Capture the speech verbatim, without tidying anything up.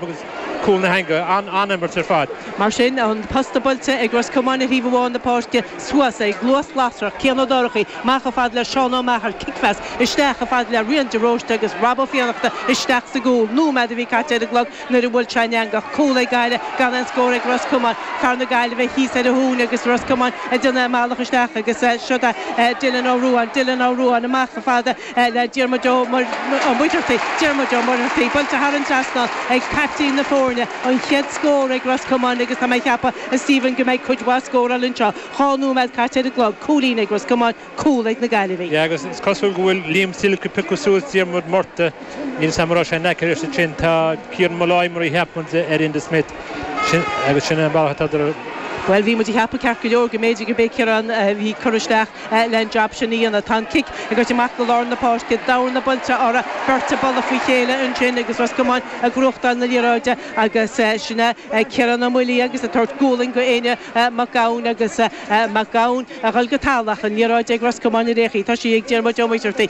Agus cúl na heangaí an-imirt ar fad. Mar sin an posta buailte ag Ros Comáin ar thaobh amháin na páirce suas ag luas lasrach Cian Ó Dorchaí amach chomh fada le Seán Ó Meachair kickphas isteach chomh fada le Rian de Róiste agus Rob Ó Fiannachta isteach sa gcúl. Nóiméad a bhí caite ar an gclog nuair a bhuail sé an eangach cúl ag Gaillimh gan aon scór ag Ros Comáin fear na Gaillimhe thíos ar a thóin agus Ros Comáin ag déanamh a mbealach isteach agus seo Dylan Ó Ruáin Dylan Ó Ruáin amach chomh fada le Diarmuid Ó Muircheartaigh Diarmuid Ó Muircheartaigh buailte thar an trasnán ag captaen na foirne an chéad scór ag Ros Comáin agus tá mé ag ceapadh a Stephen go mbeidh cuid mhaith scóráil anseo dhá nóiméad caite ar an gclog cúilín ag Ros Comáin cúl ag na Gaillimhigh. Ja agus is cosúil go bhfuil Liam Silke ag piocadh suas Diarmuid Murtagh níl sam sé necar sin tá Cian Molloy mar a cheapann ar Enda Smith agus sin an bealach Well bhí muid ag ceapadh ceart go leor go mb'fhéidir go bé Ciarán bhí cur isteach le an job sin a dhéanamh tá an cic ag amach go lár na páirce dorna buailte orthu beirt ag bualadh faoi chéile ansin agus Ros Comáin ag gnóthachtáil na liathróide agus sinna Ciarán Ó Muilí agus ag tabhairt gualainn go Éanna Mac Gabhann agus Mac Gabhann a dhul go talamh an liathróid ag Ros Comáin a réchaí Tá sí ag Diarmuid Ó Muircheartaigh